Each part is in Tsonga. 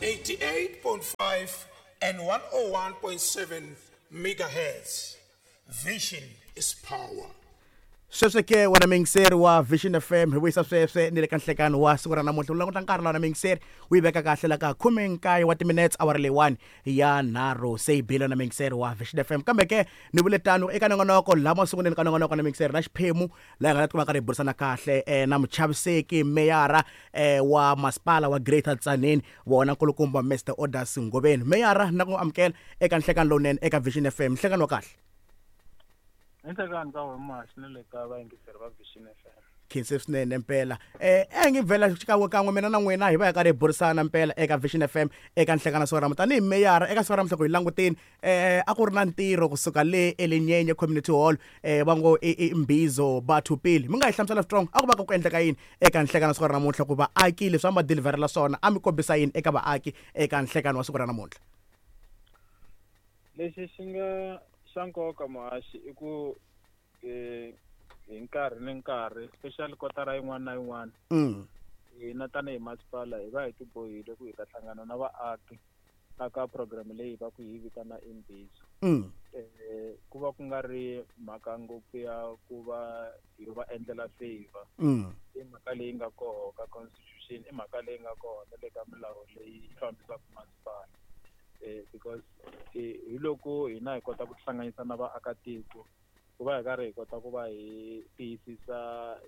88.5 and 101.7 megahertz. Vision is power. Sweswo ke, wena muyingiseri wa Vision FM, hi vuyisa sweswe ni le ka nhlekani wa siku ra namuntlha. U languta nkarhi lawa na muyingiseri, wu yi veka kahle la ka 19 wa timinutes awara leyiwani ya 3 se yi bile na muyingiseri wa Vision FM. Kambe ke ni vule tano eka nongonoko laha masunguleni ka nongonoko na muyingiseri na xiphemu laha hi nga ta tikuma karhi hi burisana kahle na muchaviseki meyara wa masipala wa Greater Tzaneen, vona nkulukumba Mr Orders Ngoveni. Meyara, na ku amukela eka nhlekani lowunene eka Vision FM. Nhlekani wa kahle. Enhlekani ka wena Muhaxi, na le ka vayingiseri va Vision FM. Khense swinene mpela. A hi nge vhela xikan'we kan'we mina na n'wina hi va hi karhi hi burisana mpela eka Vision FM eka nhlekana siku ra tanihi meyara. Eka siku ra namuntlha ku hi langutini, a ku ri na ntirho kusuka le eLenyenye Community Hall, va ngo i Mbizo Batho Pele. Mi nga hi hlamusela strong, a ku va ku endleka yini eka nhlekana siku ra namuntlha, ku vaaki leswi a mi va deliverela swona, a mi kombisa yini eka vaaki eka nhlekani wa siku ra namuntlha? Lexi xi nga xa nkoka, Muhaxi, i ku hi nkarhi ni nkarhi, especially kotara yin'wana na yin'wana, hina tanihi masipala hi va hi tibohile ku hi ta hlangana na vaaki aka program leyi va ku hi vitana Imbizo. Ku va ku nga ri mhaka ngopfu ya ku va hi va endlela favor. I mhaka leyi nga koho ka constitution, i mhaka leyi nga koho na le ka milawu leyi fambisaka masipala, because hi loko hina hi kota ku tihlanganisa na vaakatiko, ku va hi karhi hi kota ku va hi tiyisisa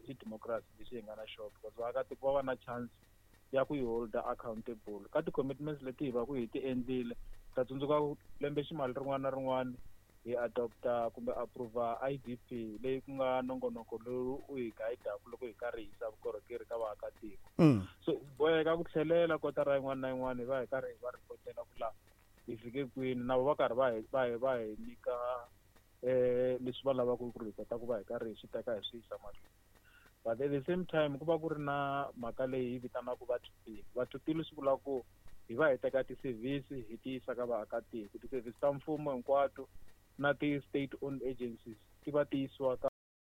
xidemokirasi lexi hi nga na xona, because vaakatiko va va na chance ya ku yi holda accountable ka ti-commitments leti hi va ku hi ti endlile. Ta tsundzuka lembe ximali rin'wana na rin'wana hi adopta kumbe approva IDP, leyi ku nga nongonoko lowu u hi guidaku loko hi karhi hi yisa vukorhokeri ka vaakatiko. So hi boheka ku tlhelela kotara yin'wana na yin'wana, hi va hi karhi hi va ripotela ku laha hi fike kwini, na vo va karhi va hi nyika leswi va lavaka ku ri hi kota ku va hi karhi hi swi teka hi swi yisa mahlweni. But at the same time ku va ku ri na mhaka leyi hi vitanaka Batho Pele. Batho Pele swi vula ku hi va hi teka ti-service hi ti yisa ka vaakatiko, ti-service ta mfumo hinkwato na ti-state owned agencies ti va ti yisiwa ka